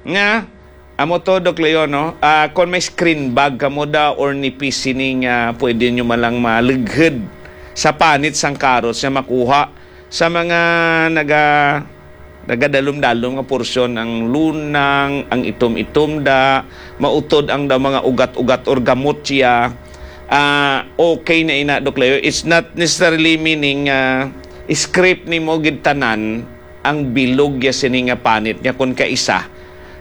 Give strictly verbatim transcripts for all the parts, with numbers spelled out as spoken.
Nga, amo to, Doc Leo, no? Ah, kung may screen bag kamo da or nipis sini nga pwede nyo man lang malughod sa panit sang carrots nga makuha sa mga naga-, nagadalom-dalom nga porsyon, ang lunang, ang itom-itom da, mautod ang da mga ugat-ugat or gamot siya. Ah, okay na ina, Doc Leo. It's not necessarily meaning, ah, scrape nimo gid tanan ang bilog ya sini nga panit nga kon kaisa,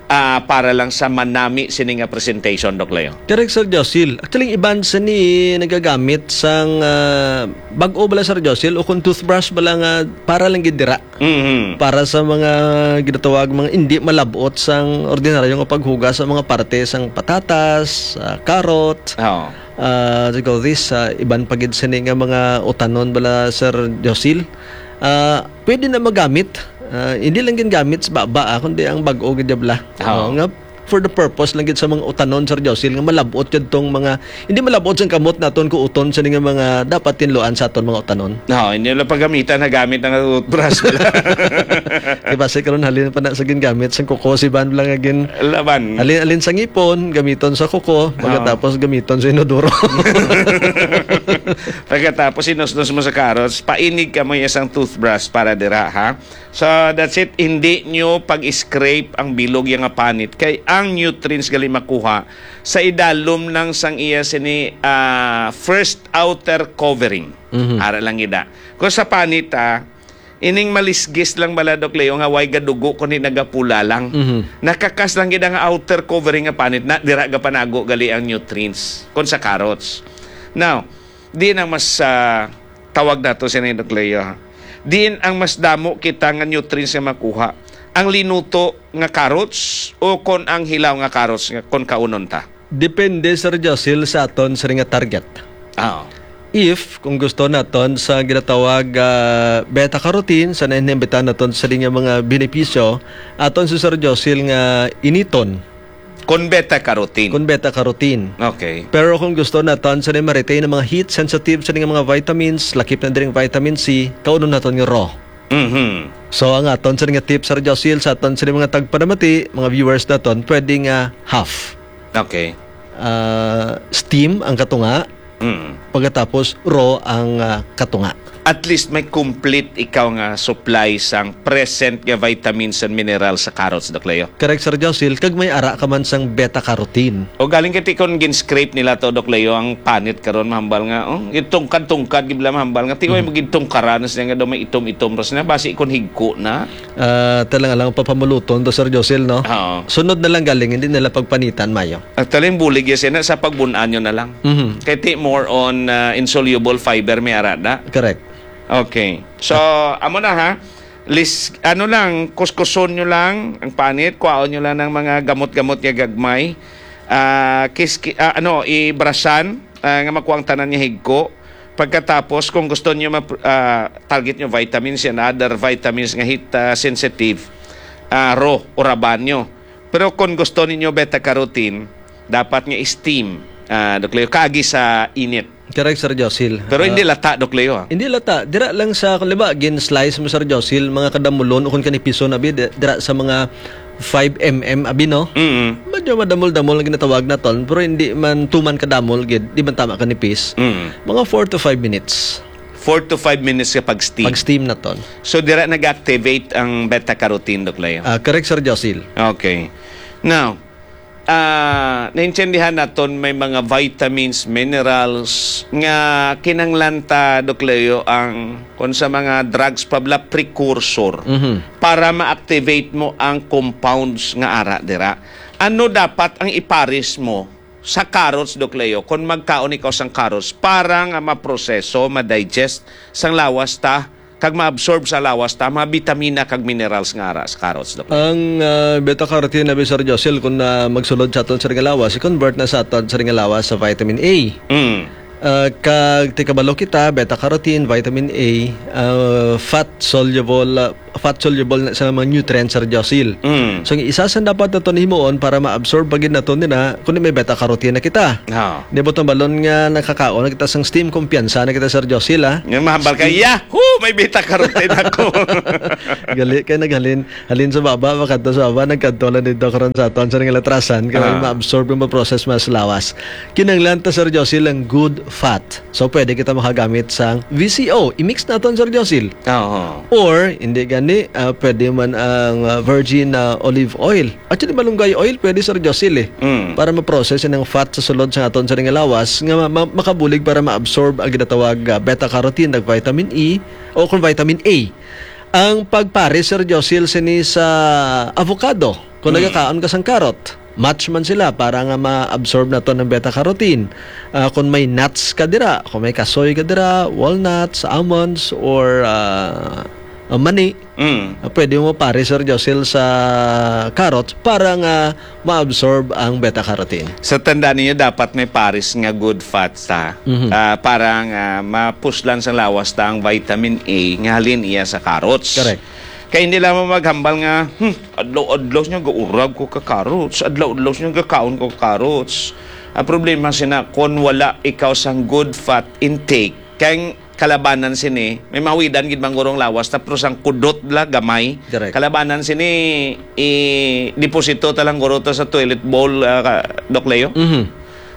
ah, para lang sa manami sini nga presentation, Doc Leo. Correct, Sir Josil. Actually, iban sini nagagamit sang, ah, bag-o bala, Sir Josil, o kung toothbrush bala nga para lang gid dira. Mhm. Para sa mga ginatawag mga hindi malabot sang ordinaryo nga paghugas sa mga parte sang patatas, ah, carrot, Oo. ah, what you call this, ah, iban pa gid sini nga mga utanon bala, Sir Josil. Ah, pwede na magamit. Ah, hindi lang ginagamit sa baba, ah, kundi ang bag-o gid bala. Oo. Oo, nga for the purpose lang gid sa mga utanon, Sir Josil, nga malabot gid tong mga, hindi malabot sang kamot naton kuuton sa nga mga dapat tinluan sa aton mga utanon. No, hindi lang paggamitan na gamit ang toothbrush. Di ba, sa karon halin pa na sa gingamit sa kuko, si Ban lang nga gin-, Laban. Halin, halin sa ngipon, gamiton sa kuko, Oo. pagkatapos gamiton sa inodoro. Pagkatapos inusnos mo sa carrots, painig ka mo isang toothbrush para dira, ha? So, that's it. Hindi nyo pag-scrape ang bilog ya nga panit. Kay ang nutrients gali makuha sa idalom lang sang iya sini, ah, first outer covering. Mhm. Ara lang gida. Kung sa panit, ah, ining malisgis lang bala, Doc Leo, nga way gadugo, kundi nagapula lang. Mhm. Nakakas lang gid ang outer covering nga panit na dira gapanago gali ang nutrients. Kung sa carrots. Now, di na mas, ah, tawag nato siya ni Doc Leo, ha? Diin ang mas damo kita nga nutrients nga makuha? Ang linuto nga carrots o kon ang hilaw nga carrots nga kon kaunon ta? Depende, Sir Josil, sa aton sini nga target. Ah. If, kung gusto naton sa ginatawag, ah, beta carotene, sa nainhibitan naton sini nga mga benepisyo, aton si Sir Josil nga initon. Kon beta carotene. Kon beta carotene. Okay. Pero kung gusto naton sa ma-retain ang mga heat sensitive sa nga mga vitamins, lakip na diri ang vitamin C, kaunon naton nga raw. Mhm. So, ang aton sa nga tips, Sir Josil, sa aton sa mga tagpanamati, mga viewers naton, pwede nga half. Okay. Ah, steam ang katunga, Mm. pagkatapos raw ang, ah, katunga. At least may complete ikaw nga supply sang present nga vitamins and minerals sa carrots, Doc Leo. Correct, Sir Josil. Kag may ara ka man sang beta carotene. O galing kay ti kon gin-scrape nila to, Doc Leo, ang panit karon, mahambal nga, oh, gintungkad-tungkad gid bala, mahambal nga ti, oy, Mhm. magintungkaran na siya nga daw may itom-itom ras na, basi kon higko na. Ah, talaga lang papamuluton to, Sir Josil, no? Oo. Sunod na lang galing, hindi nila pagpanitan, mayo. Actually, ang bulig ya sina sa pagbun-an nyo na lang. Mhm. Kay ti more on, ah, insoluble fiber may ara na. Correct. Okay. So, amo na ha. Lis-, ano lang, kuskuson nyo lang ang panit, kuhaon nyo lang ng mga gamot-gamot nga gagmay. Ah, kis-, ki-, ah, ano, ibrasan, ah, nga makuha ang tanan nga higko. Pagkatapos, kung gusto nyo map-, ah, target nyo vitamins and other vitamins nga heat, ah, sensitive, ah, raw, uraban nyo. Pero kung gusto ninyo beta carotene, dapat nga steam, ah, Doc Leo, kaagi sa init. Correct, Sir Josil. Pero hindi Ah, lata, Doc Leo, ah. Hindi lata. Dira lang sa, kung liba, gin-slice mo, Sir Josil, mga kadamulon o kung kanipison, abi, di-, dira sa mga five M M, abi, no? Mm. Medyo madamol-damol ang ginatawag naton, pero hindi man tuman kadamol, gid, di man tama kanipis. Mm. Mga four to five minutes. Four to five minutes ka pag-steam. Pag-steam naton. So, dira nag-activate ang beta-carotene, Doc Leo? Ah, correct, Sir Josil. Okay. Now, ah, naintindihan naton may mga vitamins, minerals nga kinahanglan ta, Doc Leo, ang kung sa mga drugs pa bala, precursor Mhm. para ma-activate mo ang compounds nga ara dira. Ano dapat ang ipares mo sa carrots, Doc Leo, kung magkaon ikaw sang carrots para nga maproseso, ma-digest sang lawas ta, kag ma-absorb sa lawas ta mga bitamina kag minerals nga ara sa carrots, Doc Leo? Ang, ah, beta-carotene, abi, Sir Josil, kung, ah, magsulod sa aton sa nga lawas, i-convert na sa aton sa nga lawas sa vitamin A. Mm. Ah, kag ti kabalo kita, beta carotene, vitamin A, ah, fat soluble, ah, fat soluble na sa mga nutrients, Sir Josil. Mm. So, ang isa sa dapat naton himuon para ma-absorb pa gid naton nila, kundi may beta carotene na kita. Ha. Di ba, tambalon nga nakakaon na kita sang steam, kumpiyansa na kita, Sir Josil, ha? Nga mahambal ka, Steam. "Yahoo! May beta carotene ako." Gali kay naghalin, halin sa baba, makadto sa baba, nagkadto lang dito karon sa aton sa nga latrasan, kay Ah. ma-absorb, ma-process mas lawas. Kinahanglan ta, Sir Josil, ang good fat. So, pwede kita makagamit sang V C O. I-mix naton, Sir Josil. Oo. Or, hindi gani, ah, pwede man ang, ah, virgin, ah, olive oil. Actually, malunggay oil, pwede, Sir Josil, eh. Mm. Para ma-process ang fat sa sulod sa aton sa nga lawas, nga ma-, ma-, makabulig para ma-absorb ang ginatawag, ah, beta carotene, nag vitamin E, o kung vitamin A. Ang pagpares, Sir Josil, sini sa avocado, kung Mm. nagakaon ka sang carrot, match man sila para nga ma-absorb naton ang beta carotene. Ah, kung may nuts ka dira, kung may kasoy ka dira, walnuts, almonds, or, ah, ah, mani, Mm. ah, pwede mo pares, Sir Josil, sa carrot para nga ma-absorb ang beta carotene. Sa tanda ninyo, dapat may pares nga good fats, ha? Mhm. Ah, para nga mapuslan sa lawas ta ang vitamin A nga halin iya sa carrots. Correct. Kay hindi lamang maghambal nga, "Hmm, adlaw-adlaw niya gaurag ko ka carrots, adlaw-adlaw niya gakaon ko ka carrots." Ang problema sina, kung wala ikaw sang good fat intake, kay kalabanan sini, may mawidan gid man guro ang lawas ta, pero sang kudot la, gamay. Correct. Kalabanan sini, i-deposito ta lang guro to sa toilet bowl, ah, ka-, Doc Leo. Mhm.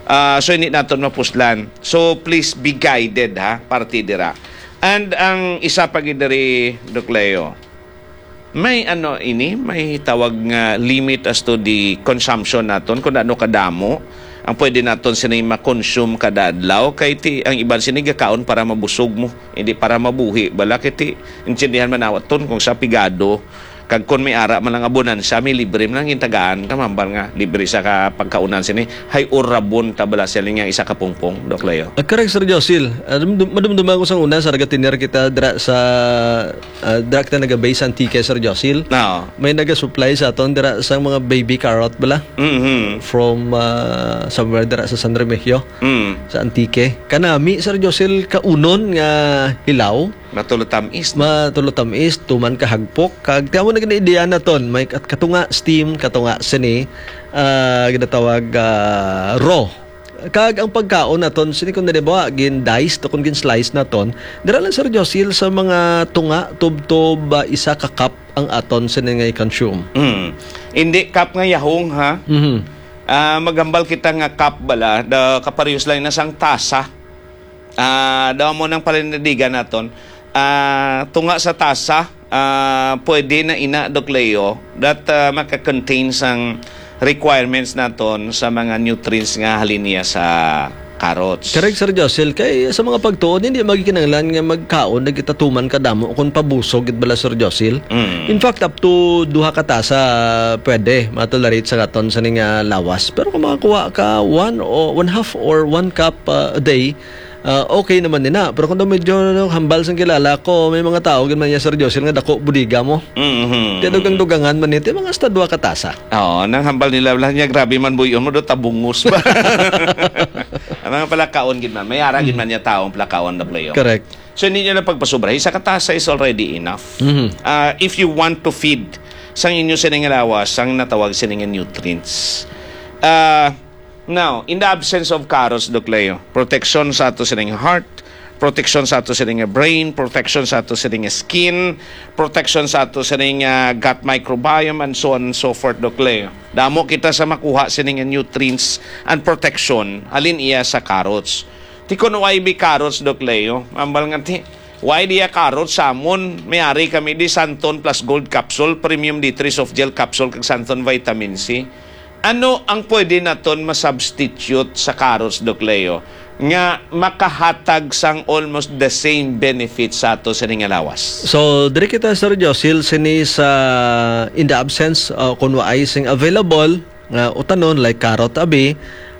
Ah, so, hindi naton mapuslan. So, please be guided, ha, parte dira. And ang isa pa gid diri, Doc Leo, may ano ini, may tawag nga limit as to the consumption naton, kung ano kadamo ang pwede naton sini ma-consume kada adlaw. Kay ti, ang iban sini gakaon para mabusog mo, hindi para mabuhi. Bala, kay ti, intindihan man naton kung sa pigado, kag kung may ara man lang abunansa, may libre man lang gintagaan ka, mambal nga libre sa ka pagkaunan sini. Hay urabon ta bala sila nga isa ka pungpong, Doc Leo. Ah, correct, Sir Josil. Ah, dum-, dum-, madumduman ko sang una, sa nagatinir kita dira sa, ah, dira kita naga-base sa Antique, Sir Josil. Oo. May naga-supply sa aton dira sang mga baby carrot bala. Mhm. From, ah, somewhere dira sa San Remigio, Mm. sa Antique. Kanami, Sir Josil, kaunon nga hilaw. Matulo tamis, no? Matulo tamis, tuman ka hagpok. Kag tiamo na gani ideya naton, may kat-, katunga steam, katunga sini, ah, ginatawag, ah, raw. Kag ang pagkaon naton, sini kung nalibawa, gin-dice to, kung gin-slice naton, dira lang, Sir Josil, sa mga tunga, tubtob, ah, isa ka cup ang aton sini nga i-consume. Mm. Hindi cup nga yahong, ha? Mhm. Ah, maghambal kita nga cup bala, da, kaparehos lang na sang tasa. Ah, daw mo nang palindigan naton. Ah, tunga sa tasa, ah, pwede na ina, Doc Leo, that, ah, maka-contain sang requirements naton sa mga nutrients nga halin niya sa carrots. Correct, Sir Josil. Kay sa mga pagtuon, hindi magikinanglan nga magkaon na kita tuman kadamo kung pabusog gid bala, Sir Josil. Mm. In fact, up to duha ka tasa pwede matolerate sa aton sa ning, ah, lawas. Pero kung makakuha ka one o one half or one cup, ah, a day, ah, okay naman nina. Pero kung daw medyo, ano, hambal sang kilala ko, may mga tao gid man niya, Sir Josil, nga dako bodega mo. Mhm. Kaya dugang-dugangan man ito, mga hasta duha ka tasa. Oo, nang hambal nila, wala niya, grabe man buyon mo, do tabungos ba? Ang mga palakaon gid man, may ara gid man niya taong palakaon, Doc Leo. Correct. So, hindi niya lang pagpasubra. Isa ka tasa is already enough. Mhm. Ah, if you want to feed sang inyo sining lawas, sang natawag sining nutrients. Ah, now, in the absence of carrots, Doc Leo, protection sa ato sining heart, protection sa ato sining brain, protection sa ato sining skin, protection sa ato sining, ah, gut microbiome, and so on and so forth, Doc Leo. Damo kita sa makuha sining nutrients and protection, halin iya sa carrots. Ti kun why be carrots, Doc Leo? Ambal nga ti, why diya carrots sa amon? May ari kami di Santon Plus Gold Capsule, Premium D three Soft Gel Capsule, kag Santon Vitamin C. Ano ang pwede naton ma-substitute sa carrots, Doc Leo, nga makahatag sang almost the same benefits sa ato sa ning lawas? So, diri kita, Sir Josil, sini sa, in the absence, uh, kung waay sing available, nga utanon, like carrot abi,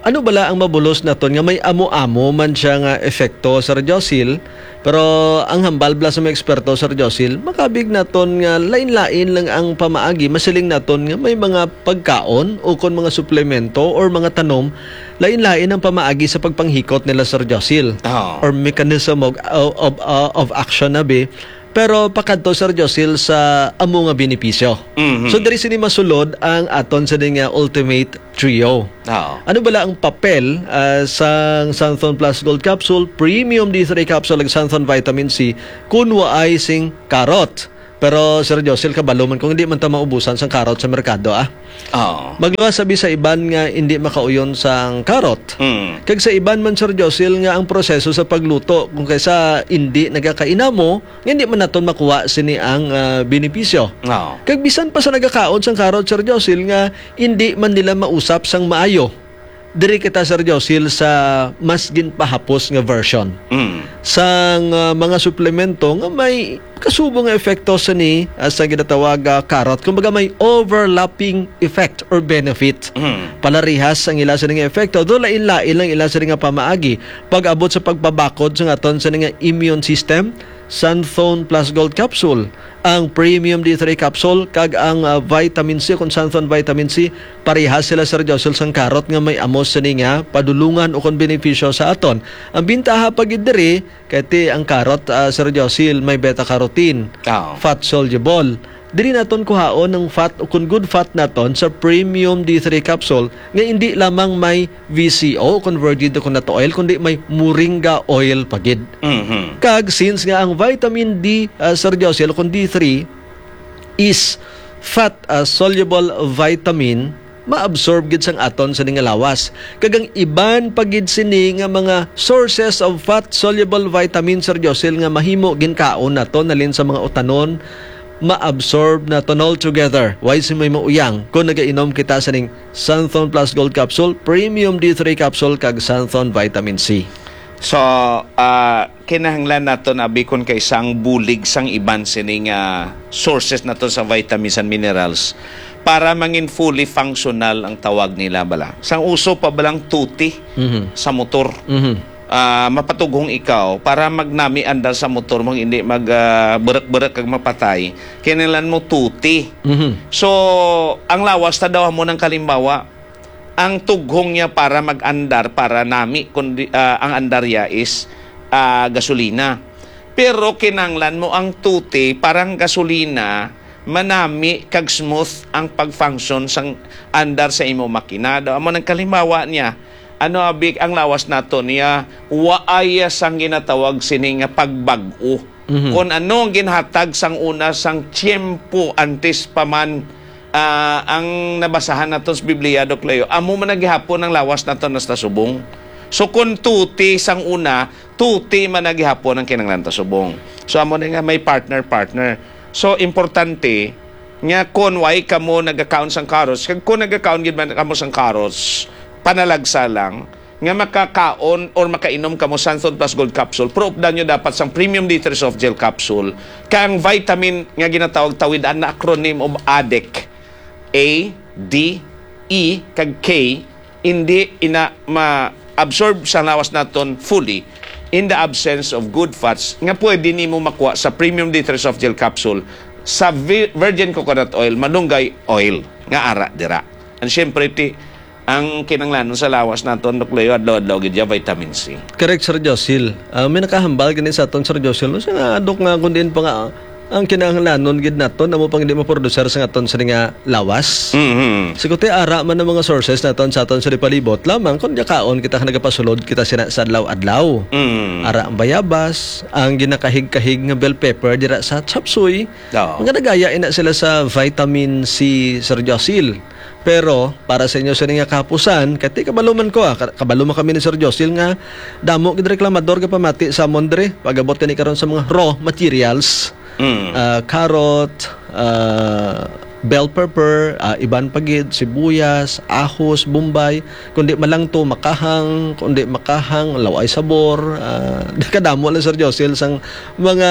Ano bala ang mabulos naton nga may amo-amo man siya nga epekto, Sir Josil? Pero ang hambal bala sa mga eksperto, Sir Josil, makabig naton nga lain-lain lang ang pamaagi. Masiling naton nga may mga pagkaon o kon mga suplemento or mga tanom, lain-lain ang pamaagi sa pagpanghikot nila, Sir Josil, Oo. or mechanism of, of, of, uh, of action na bi. Pero pakadto, Sir Josil, sa amo nga benepisyo. Mhm. So, diri sini masulod ang aton sini nga ultimate trio. Oo. Ano bala ang papel, ah, sang Xanthone Plus Gold Capsule, Premium D three Capsule, ug Xanthone Vitamin C kung waay sing karot? Pero, Sir Josil, kabalo man kung hindi man ta maubusan sang karot sa merkado, ah. Oo. Magluwas sabi sa iban nga hindi makauyon sang karot. Mm. Kag sa iban man, Sir Josil, nga ang proseso sa pagluto, kung kaysa hindi nagakainamo, nga hindi man naton makuha sini ang, ah, benepisyo. Oo. Kag bisan pa sa nagakaon sang karot, Sir Josil, nga hindi man nila mausap sang maayo, diri kita, Sir Josil, sa mas ginpahapos nga version Mm. sang, ah, mga suplemento nga may kasubo nga epekto sini, ah, sa ginatawag, ah, karot. Kumbaga, may overlapping effect or benefit. Mm. Palarihas ang ila sini nga epekto, do lain-lain lang ila sini nga pamaagi. Pag-abot sa pagpabakod sa aton sini nga immune system, Xanthone Plus Gold Capsule, ang Premium D three Capsule, kag ang, ah, Vitamin C, kung Xanthone Vitamin C, parehas sila, Sir Josil, sang karot nga may amo sini nga padulungan o kon benepisyo sa aton. Ang bintaha pa gid diri, kay ti ang karot, ah, Sir Josil, may beta carotene, Oo. fat soluble. Diri naton kuhaon ang fat o kon good fat naton sa Premium D three Capsule nga indi lamang may V C O, kon virgin coconut oil, kundi may moringa oil pa gid. Mhm. Kag since nga ang vitamin D, ah, Sir Josil, kon D three, is fat, ah, soluble vitamin, maabsorb gid sang aton sini nga lawas. Kag ang iban pa gid sini nga mga sources of fat soluble vitamin, Sir Josil, nga mahimo ginkaon naton halin sa mga utanon, maabsorb naton all together. Way sing may mauyang kung nagainom kita sining Xanthone Plus Gold Capsule, Premium D three Capsule, kag Xanthone Vitamin C. So, ah, kinahanglan naton abi kon kaysa ang bulig sang iban sini nga sources naton sa vitamins and minerals para mangin fully functional ang tawag nila bala. Sang uso pa balang tuti Mhm. sa motor. Mhm. Ah, mapatughong ikaw para magnami andar sa motor mo, hindi mag, ah, berek-berek kag mapatay. Kinahanglan mo tuti. Mhm. So, ang lawas ta daw amo nang kalimbawa, ang tughong niya para mag-andar, para nami, kundi, ah, ang andar niya is, ah, gasolina. Pero kinahanglan mo ang tuti para ang gasolina manami kag smooth ang pag-function sang andar sa imo makina. Daw amo nang kalimbawa niya, ano abi ang lawas nato niya, waay sang ginatawag sini nga pagbag-o. Mhm. Kon ano ang ginhatag sang una sang tiyempo antes pa man, ah, ang nabasahan naton sa Biblia, Doc Leo, amo man na gihapon ang lawas naton hasta subong. So, kon tuti sang una, tuti man na gihapon ang kinahanglan ta subong. So, amo na nga may partner-partner. So, importante nga kon way kamo nagakaon sang carrots, kag kon nagakaon gid man kamo sang carrots, panalagsa lang, nga makakaon or makainom kamo Santon Plus Gold Capsule, pero updan nyo dapat sang Premium D three Soft Gel Capsule, kag ang vitamin nga ginatawag tawid, an acronym of addict, A, D, E, kag K, hindi ina ma-absorb sa lawas naton fully in the absence of good fats nga pwede nimo makuha sa Premium D three Soft Gel Capsule sa vi-, virgin coconut oil, malunggay oil nga ara dira. And syempre, ti, ang kinahanglanon sa lawas naton, Doc Leo, adlaw-adlaw gid ya vitamin C. Correct, Sir Josil. Ah, may nakahambal gani sa aton, Sir Josil, no? Siya nga, Dok, nga kung diin pa nga, ang kinahanglanon gid naton, amo pang hindi maproducer sa aton sa nga lawas. Mhm. Siguti, ara man ang mga sources naton sa aton sa palibot, lamang kung gakaon kita, nagapasulod kita sina sa adlaw-adlaw. Mm. Ara ang bayabas, ang ginakahig-kahig nga bell pepper dira sa chop suey. Oo. Nga nagaya ina sila sa vitamin C, Sir Josil. Pero para sa inyo sini nga kahapusan, kay ti kabalo man ko, ah, ka-, kabalo man kami ni Sir Josil nga damo gid reklamador nga pamati sa amon diri, pag-abot gani karon sa mga raw materials, Mm. ah, carrot, ah, bell pepper, ah, iban pa gid, sibuyas, ahos, bombay, kundi malang to makahang, kundi makahang, laway sabor, ah, kadamo lang, Sir Josil, sang mga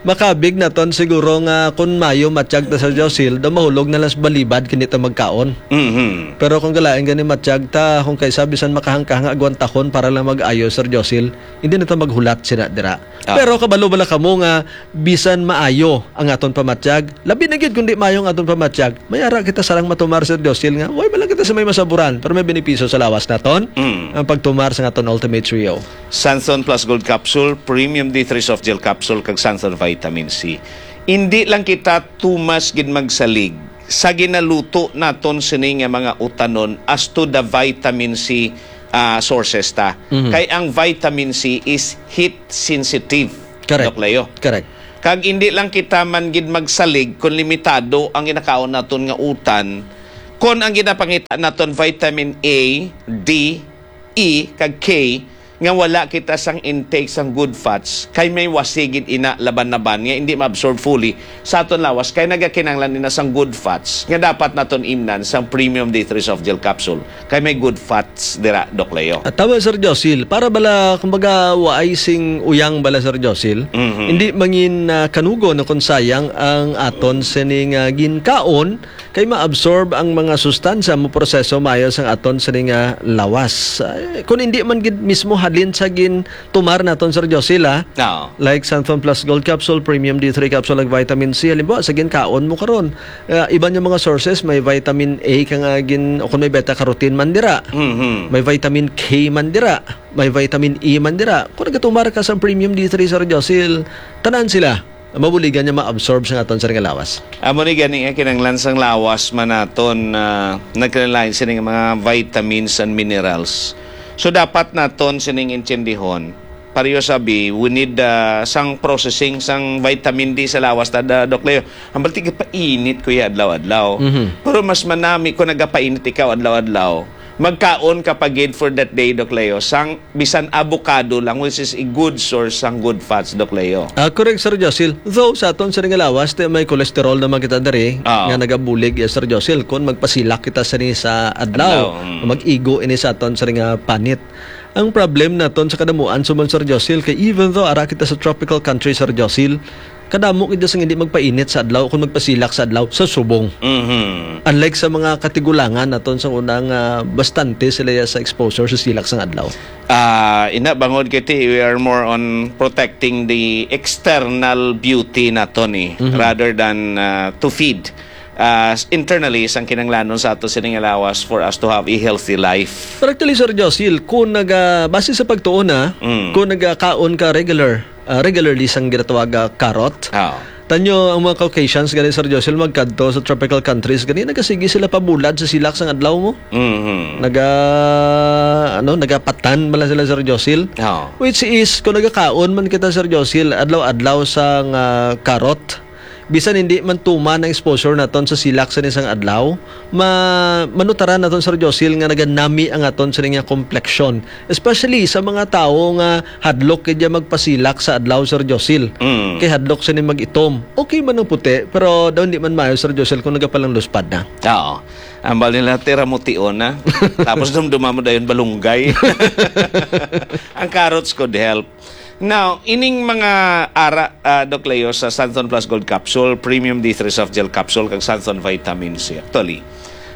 makabig naton siguro nga kun mayo matyag ta, Sir Josil, daw mahulog na lang sa balibad kini ta magkaon. Mhm. Pero kung galain gani matyag ta, kung kaysa bisan makahang-kahang agwantahon para lang mag-ayo, Sir Josil, hindi na ta maghulat sina dira. Ah. Pero kabalo bala kamo nga bisan maayo ang aton pamatyag, labi na gyud kung di maayo ang aton pamatyag, may ara kita sarang matumar, Sir Josil, nga way man lang kita sa may masaburan, pero may benepisyo sa lawas naton Mm. ang pagtumar sa aton Ultimate Trio. Sanson Plus Gold Capsule, Premium D three Soft Gel Capsule, kag Sanson Vitamin C. Indi lang kita tumas gid magsalig sa ginaluto naton sini nga mga utanon as to the vitamin C, ah, sources ta. Mhm. Kay ang vitamin C is heat sensitive, Correct. Doc Leo. Correct. Kag indi lang kita man gid magsalig kung limitado ang ginakaon naton nga utan, kung ang ginapangita naton vitamin A, D, E, kag K, nga wala kita sang intake sang good fats, kay may wasigid ina laban-laban nga hindi ma-absorb fully sa aton lawas, kay nagakinanglan ina sang good fats nga dapat naton imnan sang premium D three Soft Gel Capsule, kay may good fats dira, Doc Leo. At tama, Sir Josil, para bala, kumbaga, waay sing uyang bala, Sir Josil, Mhm. hindi mangin, ah, kanugon o kung sayang ang aton sining, ah, ginkaon, kay ma-absorb ang mga sustansya, mo proseso maayo sang aton sining, ah, lawas. Ay, kung hindi man gid mismo halin sa gin tumar naton, Sir Josil, ah. Oo. Like Santhon Plus Gold Capsule, Premium D three Capsule, ag Vitamin C. Halimbawa, sa ginkaon mo karon, ah, iban yung mga sources, may vitamin A ka nga gin-, o kung may beta carotene man dira. Mhm. May vitamin K man dira. May vitamin E man dira. Kung nagatumar ka sa Premium D three, Sir Josil, tanan sila mabuligan niya ma-absorb sa aton, sir, nga lawas. Amo ni gani nga kinahanglan sang lawas man naton, ah, nagkinahanglan sini nga mga vitamins and minerals. So, dapat naton sining intindihon. Pareho sabi, we need, ah, sang processing sang vitamin D sa lawas ta, da-, Doc Leo. Ang balti, painit ko ya adlaw-adlaw. Mhm. Pero mas manami kung nagapainit ikaw adlaw-adlaw. Magkaon ka pa gid for that day, Doc Leo, sang bisan avocado lang, which is a good source sang good fats, Doc Leo. Ah, correct, Sir Josil. Though, sa aton sining nga lawas, ti may cholesterol naman kita diri, Ah. nga nagabulig, yes, Sir Josil, kung magpasilak kita sini sa adlaw, Adlaw, mm. mag-igo ini sa aton sining nga panit. Ang problem naton sa kadamuan, subong, Sir Josil, kay even though ara kita sa tropical country, Sir Josil, kadamo kita sang hindi magpainit sa adlaw kung magpasilak sa adlaw sa subong. Mhm. Unlike sa mga katigulangan naton sa una nga bastante sila ya sa exposure sa silak sang adlaw. Ah, ina, bangod kay ti, we are more on protecting the external beauty naton, eh, Mhm. rather than, ah, to feed. Ah, s-, internally, sang kinanglanon sa ato sining lawas for us to have a healthy life. Pero actually, Sir Josil, kung naga-, base sa pagtuon, ah, Mm. kung nagakaon ka regular, ah, regularly sang ginatawag, ah, carrot. Ah. Tanyo ang mga Caucasians gani, Sir Josil, magkadto sa tropical countries gani, nagasigi sila pabulad sa silak sang adlaw mo. Mhm. Naga, ano, nagapatan bala sila, Sir Josil. Ah. Which is, kung nagakaon man kita, Sir Josil, adlaw-adlaw sang, ah, carrot, bisan hindi man tuman ang exposure naton sa silak sa isang adlaw, ma-, manutaran naton, Sir Josil, nga naganami ang aton sa nga kompleksyon. Especially sa mga tawo nga hadlok gid ya magpasilak sa adlaw, Sir Josil. Mm. Kay hadlok sini mag-itom. Okay man ang puti, pero daw hindi man maayo, Sir Josil, kung nagapalang luspad na. Oo. Ambal nila, tira mo tion na. Tapos dumduma mo dayon balunggay. Ang carrots could help. Now, ining mga ara, ah, Doc Leo, sa Santhon Plus Gold Capsule, Premium D three Soft Gel Capsule, kag Santhon Vitamin C. Actually,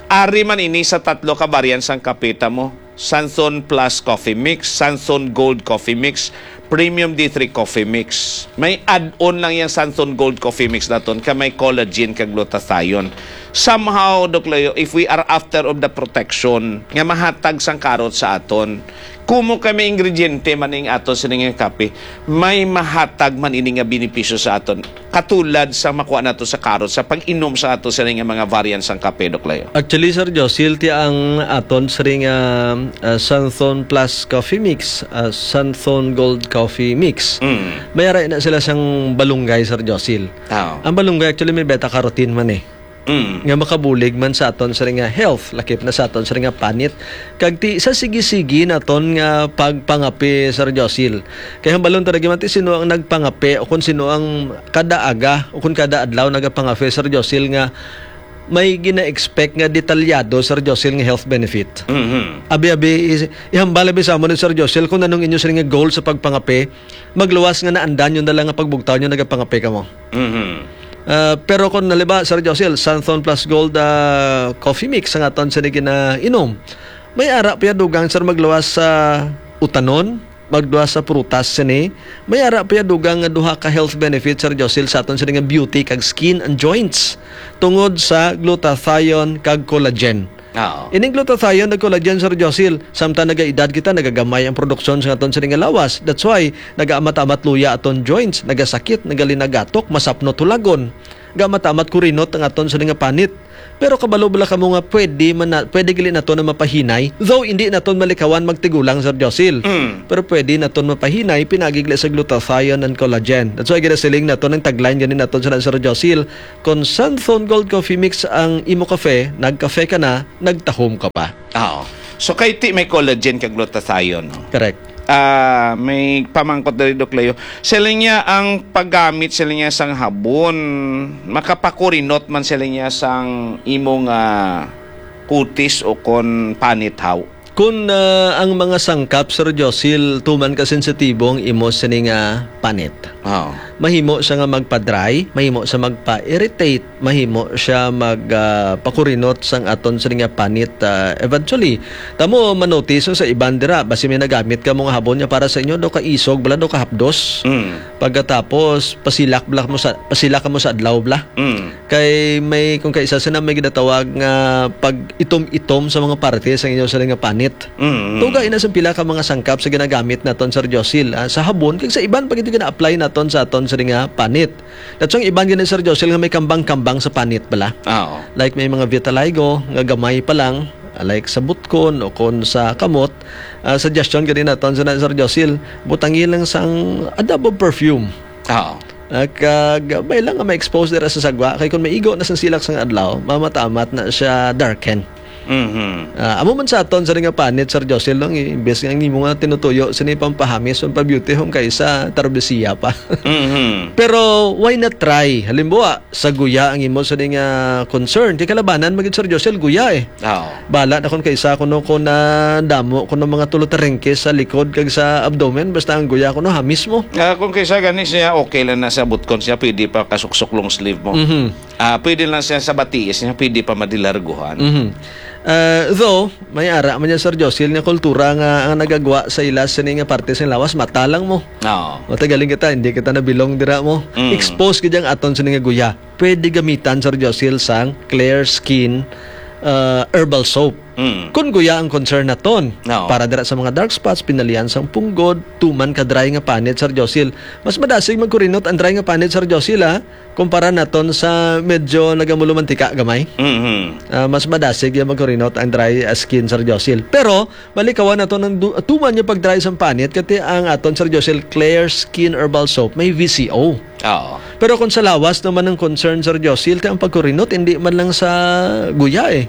ari man ini sa tatlo ka variant sang kape ta mo. Santhon Plus Coffee Mix, Santhon Gold Coffee Mix, Premium D three Coffee Mix. May add-on lang yang Santhon Gold Coffee Mix naton ka may collagen kag glutathione. Somehow, Doc Leo, if we are after of the protection nga mahatag sang karot sa aton, kumo kay may ingrediente man ning ato sining nga kape, may mahatag man ini nga benepisyo sa aton. Katulad sa makuha nato sa karot sa pag-inom sa ato sining nga mga variant sang kape, Doc Leo. Actually, Sir Josil, ti ang aton sining, ah, ah, Santhon Plus Coffee Mix, ah, Santhon Gold Coffee Mix. Mm. May ara na sila sang balunggay, Sir Josil. Ah. Ang balunggay, actually, may beta carotene man eh. Mm. Nga makabulig man sa aton sining nga health, lakip na sa aton sining nga panit. Kag ti sa sigi-sigi naton nga pagpangape, Sir Josil. Kay hambalon ta lagi man ti sino ang nagpangape o kung sino ang kada aga o kung kada adlaw nagapangape, Sir Josil, nga may gina-expect nga detalyado, Sir Josil, nga health benefit. Mhm. Abi-abi, is-, ihambal abi sa amon ni Sir Josil kung anong inyo sini nga goal sa pagpangape, magluwas nga naandan nyo na lang nga pagbugtaw nyo nagapangape kamo. Mhm. Ah, pero kung naliba, Sir Josil, Santhon Plus Gold, ah, Coffee Mix ang aton sini ginainom. May ara pa ya dugang, sir, magluwas sa utanon, magluwas sa prutas sini. May ara pa ya dugang nga duha ka health benefits, Sir Josil, sa aton sini nga beauty kag skin and joints tungod sa glutathione kag collagen. Oo. Ining glutathione kag collagen, Sir Josil, samtang nagaedad kita, nagagamay ang produksyon sa aton sini nga lawas. That's why nagaamat-amat luya aton joints, nagasakit, nagalinagatok, masapnot hulagon. Gaamat-amat kurinot ang aton sini nga panit. Pero kabalo bala kamo nga pwede man na, pwede gali nato na mapahinay, though hindi naton malikawan magtigulang, Sir Josil. Mm. Pero pwede naton mapahinay pinagi gali sa glutathione and collagen. That's why ginasiling naton ang tagline gani naton sa Sir Josil, "Kon Santhon Gold Coffee Mix ang imo kafe, nagkafe ka na, nagtahom ka pa." Oo. So, kay ti may collagen kag glutathione, no? Correct. Ah, may pamangkot diri, Doc Leo. Siling niya ang paggamit, siling niya, sang habon, makapakurinot man, siling niya, sang imong, ah, kutis o kon panit, haw? Kun, ah, ang mga sangkap, Sir Josil, tuman ka sensitibo ang imo sini nga panit. Oo. Mahimo siya nga magpa-dry, mahimo siya magpa-irritate, mahimo siya mag, ah, pakurinot sang aton sini nga panit, ah, eventually. Tamo manotice sa iban dira, basi may nagamit ka mga habon niya para sa inyo, daw kaisog, bala daw kahapdos. Mm. Pagkatapos, pasilak bala mo sa, pasilak ka mo sa adlaw bala. Mm. Kay may, kung kaisa sila may ginatawag nga pag-itom-itom sa mga parte sa inyo sila nga panit. Mm. Tuga ina sa pila ka mga sangkap sa ginagamit naton, Sir Josil, ah, sa habon, kag sa iban pa gid gina-apply naton sa aton sila nga panit. That's why ang iban gani, Sir Josil, nga may kambang-kambang sa panit bala. Ah, oo. Like may mga vitiligo nga gamay pa lang, ah, like sa butkon o kon sa kamot, ah, suggestion gani naton sa Sir Josil, butangi lang sang a dab of perfume. Oo. Ah, kag may lang nga ma-expose dira sa sagwa, kay kung maigo na sang silak sang adlaw, mamatamat na siya darken. Mhm. Ah, amo man sa aton sa nga panit, Sir Josil, no? Imbes nga ang imo nga tinutuyo, sini pampahamis, pampabeauty, home kay sa tarbesiya pa. Mhm. Pero why not try? Halimbawa, sa guya ang imo sa nga concern. Kay kalabanan, magid, Sir Josil, guya eh. Oo. Bala na kung kaisa kuno, kung na damo kuno mga tulo tarengke sa likod kag sa abdomen, basta ang guya kuno hamis mo. Ah, kung kaisa gani siya, okay lang na sa butkon siya, pwede pa kasuksok long sleeve mo. Mhm. Ah, pwede lang siya sa batiis niya, pwede pa madilarguhan. Mhm. Ah, though, may ara man niya, Sir Josil, nga kultura nga ang nagagwa sa ila sini nga parte sa lawas, mata lang mo. Oo. Matagaling kita, hindi kita nabilong dira mo. Mm. Expose gid ang aton sini nga guya. Pwede gamitan, Sir Josil, sang Clear Skin, ah, herbal soap. Mm. Kung guya ang concern naton, Oo. para dira sa mga dark spots, pinalian sang punggod, tuman ka dry nga panit, Sir Josil, mas madasig magkurinot ang dry nga panit, Sir Josil, ha? Kumpara naton sa medyo nagamulumantika gamay. Mhm. Ah, mas madasig yung magkurinot ang dry, ah, skin, Sir Josil. Pero, malikawan naton ang du-, tuman yung pag-dry sang panit, kati ang aton, Sir Josil, Clear Skin Herbal Soap, may V C O. Oo. Pero kung sa lawas naman ang concern, Sir Josil, ti ang pagkurinot, hindi man lang sa guya eh.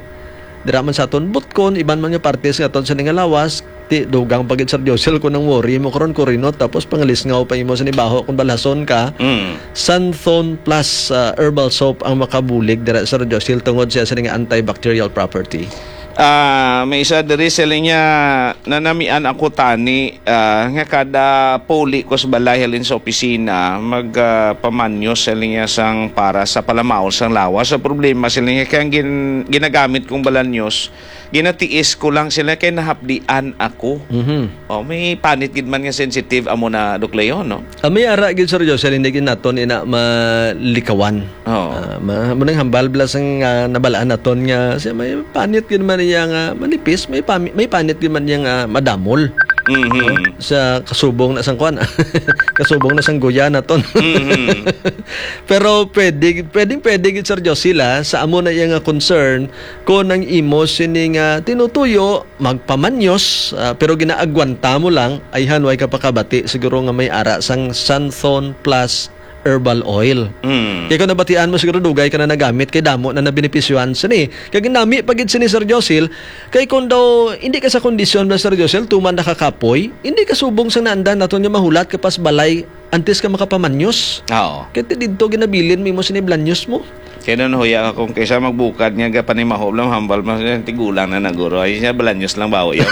Dira man sa aton butkon, iban man nga partes nga aton sa nga lawas, ti dugang pa gid, Sir Josil, kung ang worry mo karon kurinot, tapos pangalisngaw pa imo sa nibaho kung balhason ka. Mm. Santhon Plus, ah, Herbal Soap ang makabulig dira, Sir Josil, tungod siya sa nga antibacterial property. Ah, may isa diri, siling niya, "Nanamian ako tani, ah, nga kada puli ko sa balay halin sa opisina, mag, ah, pamanyos," siling niya, "sang para sa palamaol sang lawas. Ang problema," siling niya, "kaya ang gin-, ginagamit kong balanyos, ginatiis ko lang," siling niya, "kay nahapdian ako." Mhm. Oh, may panit gid man nga sensitive amo na, Doc Leo, no? Ah, may ara gid, Sir Josel, hindi gid naton ina malikawan. Oo. Ah, ma-, mo nang hambal bala sang, ah, nabalaan naton nga siya may panit gid man iya nga manipis, may pami-, may panit gid man iya nga madamol. Mhm. No? Sa kasubong na sang kwan. Kasubong na sang guya naton. Mhm. Pero pwede, pwedeng pwede gid, Sir Josel, ah, sa amo na iya nga concern, kung ang imo sini nga tinutuyo, magpamanyos, ah, pero ginaagwanta mo lang, ayhan, way ka pakabati, siguro nga may ara sang Santhon Plus Herbal Oil. Mm. Kay kung nabatian mo, siguro dugay ka na nagamit, kay damo na nabenepisyohan sini. Kay ginami pa gid sini, Sir Josel, kay kung daw hindi ka sa kondisyon na, Sir Josel, tuman nakakapoy, hindi ka subong sa naandan naton nga mahulat ka pas balay antes ka makapamanyos. Oo. Kay ti didto ginabilin mo imo sini blanyos mo. Kaya nun, huya ka kung kaysa magbukad nga gapanimaho lang, hambal mas tigulang na naguro. Ay, siya, balanyos lang ba, huya?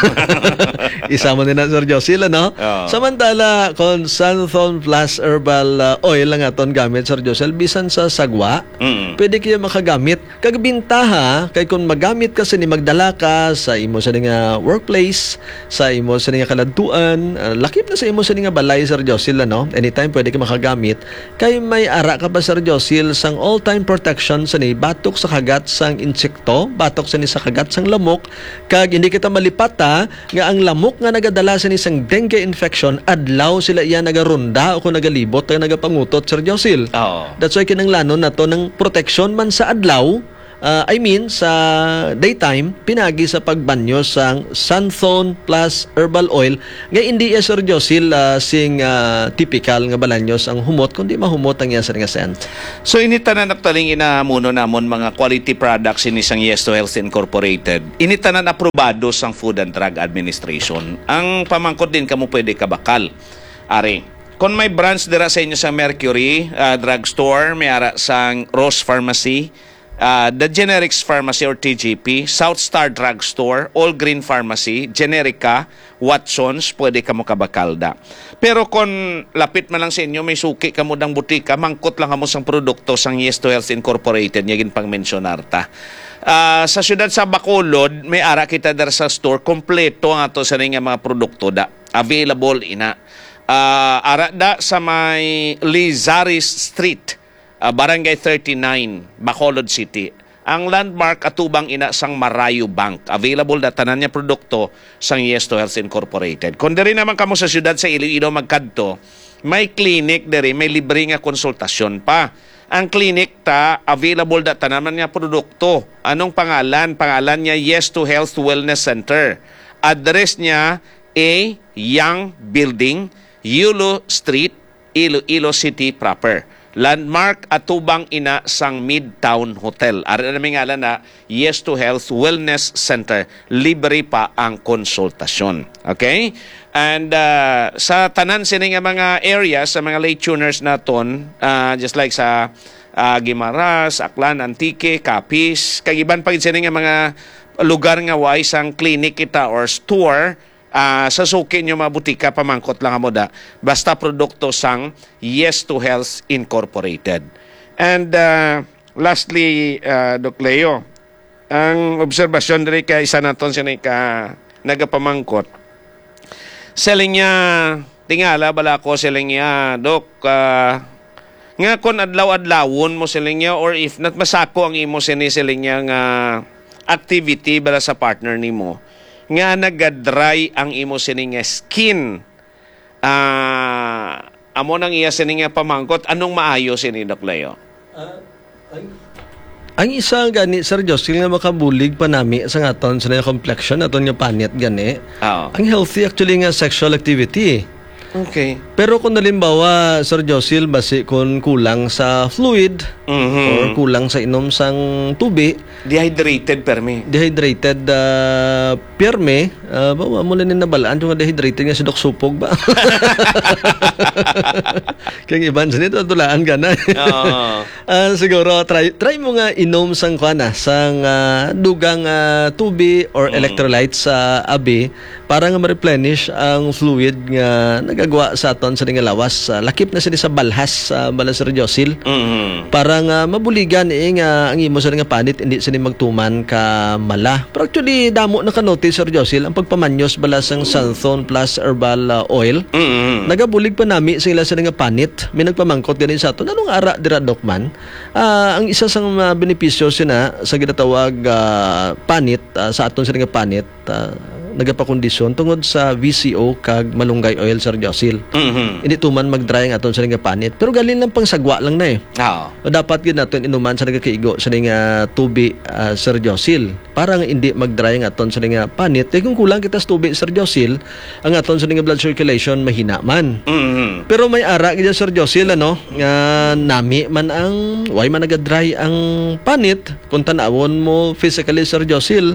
Isa mo din na, Sir Josil, ano? Oo. Samantala, kung Santhon Plus Herbal, ah, Oil ang aton gamit, Sir Josil, bisan sa sagwa, Mm. pwede kayo makagamit. Kag bintaha, kay kung magamit ka sini, magdala ka sa imo sini nga workplace, sa imo sini nga kaladtuan, ah, lakip na sa imo sini nga balay, Sir Josil, ano? Anytime pwede ka makagamit. Kay may ara ka pa, Sir Josil, sang all-time protection sini batok sa kagat sang insekto, batok sini sa kagat sang lamok, kag hindi kita malipata nga ang lamok nga nagadala sini sang dengue infection, adlaw sila iya nagaronda o kung nagalibot kag nagapangutot, Sir Josil. Oo. That's why kinahanglanon nato ng protection man sa adlaw, ah, I mean, sa daytime, pinagi sa pagbanyo sang Santhon Plus Herbal Oil, nga hindi iya, Sir Josil, ah, sing, ah, typical nga balanyos ang humot, kundi mahumot ang iya sini nga scent. So, ini tanan actually inamuno namon mga quality products ini sang Yes to Health Incorporated. Ini tanan aprobado sang Food and Drug Administration. Ang pamangkot din kamo pwede kabakal. Ari, kung may branch dira sa inyo sa Mercury, ah, Drugstore, may ara sang Rose Pharmacy, ah, The Generics Pharmacy or T G P, South Star Drugstore, All Green Pharmacy, Generica, Watsons, pwede kamo kabakalda. Pero kung lapit man lang sa inyo, may suki kamo dang butika, mangkot lang kamo sang produkto sang Yes to Health Incorporated nga ginpangmensyonar ta. Ah, sa siyudad sa Bacolod, may ara kita dira sa store, kompleto ang ato sa nga mga produkto da. Available ina. Ah, ara da sa may Lizares Street, ah, Barangay thirty-nine, Bacolod City. Ang landmark atubang ina sang Marayo Bank. Available na tanan nga produkto sang Yes to Health Incorporated. Kung diri naman kamo sa siyudad sa Iloilo magkadto, may clinic diri, may libre nga konsultasyon pa. Ang clinic ta, available na tanan nga produkto. Anong pangalan? Pangalan niya Yes to Health Wellness Center. Address niya A Young Building, Yulo Street, Iloilo City proper. Landmark atubang ina sang Midtown Hotel. Ari na may ngalan na Yes to Health Wellness Center. Libre pa ang konsultasyon. Okay? And, ah, sa tanan sini nga mga areas, sa mga late tuners naton, ah, just like sa, ah, Guimaras, Aklan, Antique, Capiz, kag iban pa gid sini nga mga lugar nga way sang clinic kita or store, ah, sa suki nyo mga butika, pamangkot lang kamo da. Basta produkto sang Yes to Health Incorporated. And, ah, lastly, ah, Doc Leo, ang obserbasyon diri kay isa naton sini ka nagapamangkot. Siling niya, tingala bala ko, siling niya, Dok, ah, nga kon adlaw-adlawon mo, siling niya, or if not, masako ang imo sini, siling niya, nga activity bala sa partner nimo, nga nagadry ang imo sini nga skin. Ah, amo nang iya sini nga pamangkot, anong maayo sini, Doc Leo? Ah, ang, ang isa gani, Sir Jocelyn, nga makabulig pa nami sa aton sa nga complexion, aton nga panit gani. Oo. Ang healthy actually nga sexual activity. Okay. Pero kung halimbawa, Sir Josil, basi kung kulang sa fluid Mhm. or kulang sa inom sang tubi, Dehydrated, permi. Dehydrated, ah, pirme, ah, ba, wa mo na ni nabalaan yung dehydrated nga si Doc Supog ba? Kaya iban sa nito, tulaan ka na. Oo. Ah, siguro, try, try mo nga inom sang, kuwan na, sang, ah, dugang, ah, tubi or Mm. electrolytes sa abi para nga ma-replenish ang fluid nga nagagwa sa aton sa nga lawas. Ah, lakip na sila sa balhas, ah, bala, Sir Josil. Mhm. Para nga mabuligan, eh, nga ang imo sa nga panit, hindi sila magtuman ka mala. Pero actually, damo na ka notice, Sir Josil, ang pagpamanyos bala sang Santhon Plus Herbal, ah, Oil. Mhm. Nagabulig pa nami sila sa nga panit. May nagpamangkot gani sa aton, "Anong ara dira, Doc, man?" Ah, ang isa sa mga benepisyo sina sa ginatawag, ah, panit, ah, sa aton sila nga panit, ah, nagapakondisyon tungod sa V C O kag malunggay oil, Sir Josil. Mhm. Hindi tuman mag-dry ang aton sila nga panit. Pero galing lang pang sagwa lang na eh. Oo. Dapat gid naton inuman sa nagakaigo sa nga tubi, ah, Sir Josil. Para nga hindi mag-dry ang aton sa nga panit. Kay kung kulang kita sa tubi, Sir Josil, ang aton sa nga blood circulation mahina man. Mhm. Pero may ara gid, Sir Josil, ano, nga nami man ang, why man naga-dry ang panit, kung tanawon mo physically, Sir Josil,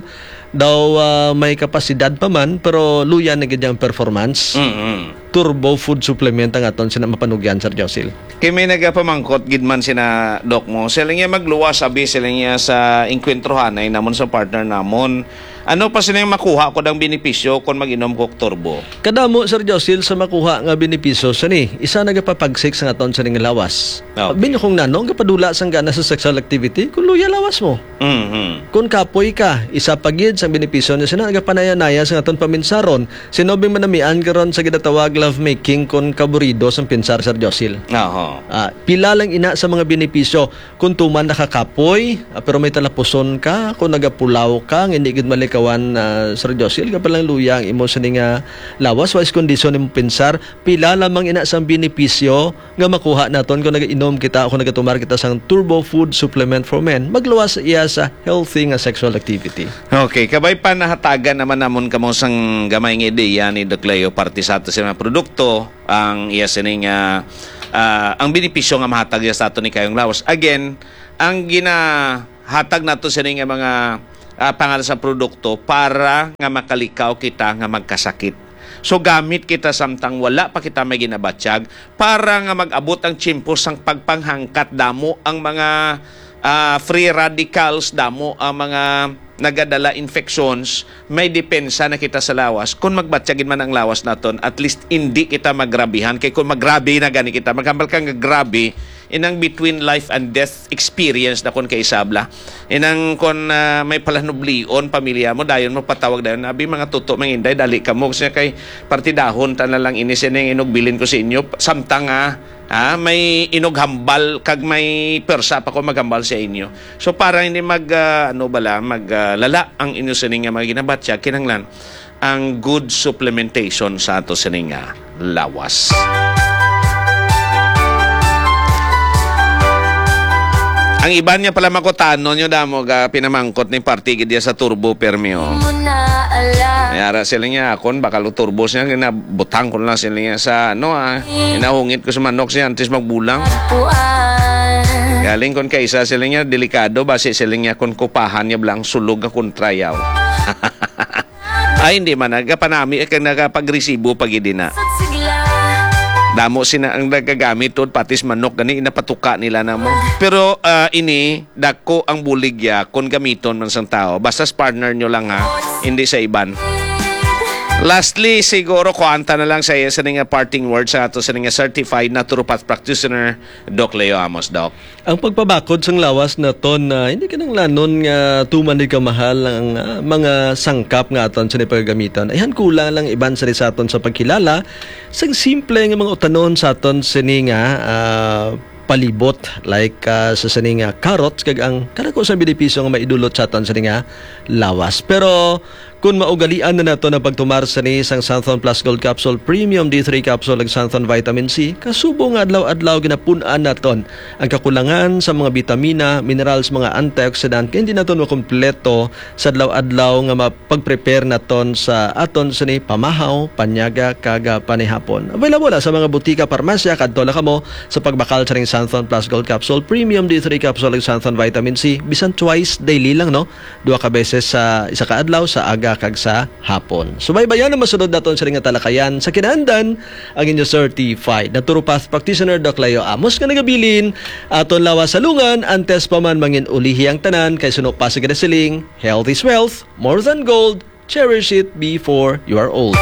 Daw, ah, may kapasidad pa man, pero luya na gid ang performance. Mm-mm. Turbo food supplement ang aton sina mapanugyan, Sir Josil. Kay may nagapamangkot gid man sina, Doc, mo. Sila niya magluwas, abi, sila niya sa engkwentrohanay namon sa partner namon. Ano pa sila yung makuha ko ang benepisyo kung mag-inom ko turbo? Kadamo, Sir Josil, sa makuha nga benepisyo sini. Isa nagapapagsik sa aton sining lawas. Ah, okay. Binyo kung nano, gapadula sang gana sa sexual activity, kung luya lawas mo. Mhm. Kung kapoy ka, isa pa gid sang benepisyo niya sina nagapanaya-naya sa aton paminsaron. Sino bing manamian karon sa ginatawag lovemaking kon kaburido sang pinsar, Sir Josil? Aha. Ah, pila lang ina sa mga benepisyo kung tuman nakakapoy, ah, pero may talapuson ka, kung nagapulaw ka, nga hindi gid malikawan, ah, Sir Josil, ka palang luya ang imo sini nga lawas, wais kondisyon imo pinsar, pila lamang ina sang benepisyo nga makuha naton kung nagainom kita o kung nagatumar kita sang Turbo Food Supplement for Men, magluwas iya sa healthy nga sexual activity. Okay, kabay pa nahatagan naman namon kamo sang gamay nga ideya ni Doc Leo parte sa ato sa mga produkto, ang iya sining, ah, ah, ang benepisyo nga mahatag niya sa ato ni kayong lawas. Again, ang ginahatag nato sining nga mga, ah, pangalan sa produkto para nga makalikaw kita nga magkasakit. So, gamit kita samtang wala pa kita may ginabatyag para nga mag-abot ang tiyempo sang pagpanghangkat, damo ang mga, ah, free radicals, damo ang mga nagadala infections, may depensa na kita sa lawas. Kung magbatyag gid man ang lawas naton, at least hindi kita magrabihan. Kay kung magrabi na gani kita, maghambal ka nga grabe, inang between life and death experience na kon kaisabla. Inang kon, ah, may palanublion, pamilya mo, dayon mo patawag dayon, "Abi, mga tuto, mga inday, dali ka mo." Kasi kay partidahon ta na lang ini sining inugbilin ko sa inyo. Samtang, ah, ah, may inughambal, kag may persa pa ko maghambal sa inyo. So, para hindi mag, ah, ano bala, mag, ah, lala ang inyo sining nga mga ginabatya, kinahanglan ang good supplementation sa ato sining nga lawas. Ang iban niya pala makutano nyo damo ga pinamangkot ni parti gid ya sa turbo permi, oh. Mo na ala. Yara sila niya akon, bakal turbo siya, ginabutang ko na lang sila niya sa, ano, ah, inahungit ko sa manok siya antes magbulang. Puan. Galing kon kaisa sila niya, delikado, basi sila niya kon kupahan niya blang sulog nga kontrayaw. Ay, hindi man. Nagapanami, eh, kag nagapagresibo pa gid na. Damo sina ang nagagamit tod, patis manok, gani, inapatuka nila na mo. Pero, ah, ini, dako ang buligya kung gamiton man sang tao. Basta sa partner nyo lang, ha, hindi sa iban. Lastly, siguro, kuanta na lang sa iya sa nga parting words sa ato sa nga certified naturopath practitioner, Doc Leo Amos, Doc. Ang pagpabakod sang lawas naton, ah, hindi kinahanglanon nga tuman ni kamahal ang, ah, mga sangkap nga aton sini pagagamitan. Ayhan kulang lang iban sini sa aton sa pagkilala sang simple nga mga utanon sa aton sini nga, ah, palibot, like, ah, sa sini nga carrots, kag ang kadako sa benepisyo nga maidulot sa aton sini nga lawas. Pero Kun maugalian na nato ang pagtumar sini sang Xanthone Plus Gold Capsule Premium D three Capsule kag Xanthone Vitamin C, kasubo nga adlaw-adlaw ginapun-an naton ang kakulangan sa mga bitamina, minerals, mga antioxidant, kay hindi naton makumpleto sa adlaw-adlaw nga ma-, pag-prepare naton sa aton sini pamahaw, panyaga, kag, ah, panihapon. Available na sa mga butika, parmasya, kadto lang kamo sa pagbakal sa ring Xanthone Plus Gold Capsule Premium D three Capsule ug Xanthone Vitamin C, bisan twice daily lang, no? Duha ka beses sa isa ka adlaw, sa aga kag sa hapon. Subaybayan ang masunod naton sini nga talakayan. Sa kinaandan, ang inyo certified naturopath practitioner, Doc Leo Amos, nga nagabilin, aton lawas sa lungan, antes pa man mangin-ulihi ang tanan, kay suno pa sa ginasiling, "Health is wealth, more than gold, cherish it before you are old."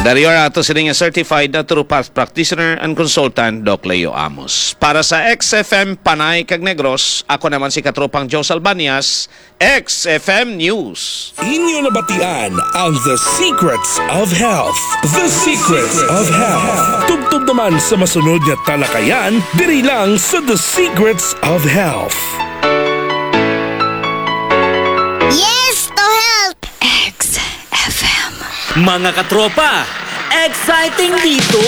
Dari ang ato sini nga certified naturopath practitioner and consultant, Doc Leo Amos. Para sa X F M Panay kag Negros, ako naman si Katropang Joe Salbanias, X F M News. Inyo nabatian ang The Secrets of Health. The Secrets of Health. Tubtob naman sa masunod nga talakayan, diri lang sa The Secrets of Health. Yes to health! X F M. Mga katropa, exciting dito!